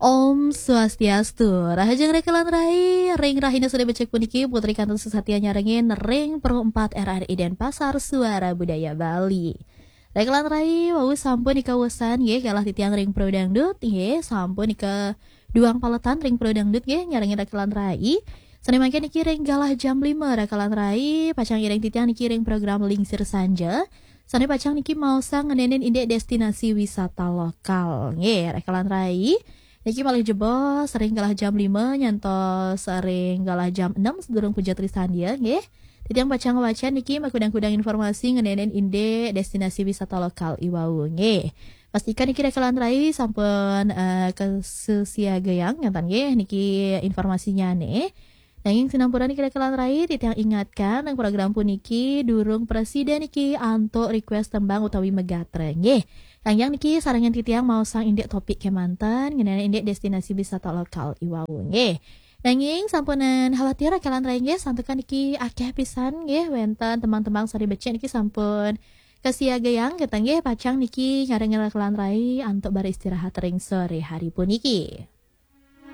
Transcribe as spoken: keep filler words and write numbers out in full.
Om Swastiastu, rahajeng rekelan rai, ring rahina Senin becik puniki, Putri kantos satia nyarengin ring Pro empat R R I Denpasar, Suara Budaya Bali. Rekelan rai, wau sampun ika wesan, nggih, galah titiang ring Pro Dangdut, nggih, sampun ika duang paletan ring Pro Dangdut, nggih, nyarengin rekelan rai. Sane mangkin niki ring galah jam lima rekelan rai, pacang iring titiang niki ring program Lingsir Sanja. Sane pacang niki maosang ngenenin indik destinasi wisata lokal. Nggih, rekelan rai. Niki malih jebos ring galah jam lima nyantos ring galah jam enam sedurung puja trisandia, nggih. Titiang pacang ngwacen niki makudang-kudang informasi ngenenin indik destinasi wisata lokal iwau, nggih. Pastika niki rekelan rai sampun, eh, kasesiagayang, ngenten nggih, niki informasinyane. Nanging sinampura niki rekelan rai, titiang ingatkan, ring program puniki durung prasida niki antuk request tembang utawi megatre, nggih. Kanggeng niki sarengan titiang maosang indik topik kemanten, ngenenin indik destinasi wisata lokal iwau, nggih. Nanging sampunang khawatir rekelan rai, nggih, santukan niki akeh pisan, nggih, wenten tembang-tembang sane becik niki sampun kasiagayang, ngenten nggih, pacang niki nyarengin rekelan rai antuk beristirahat ring sore hari puniki.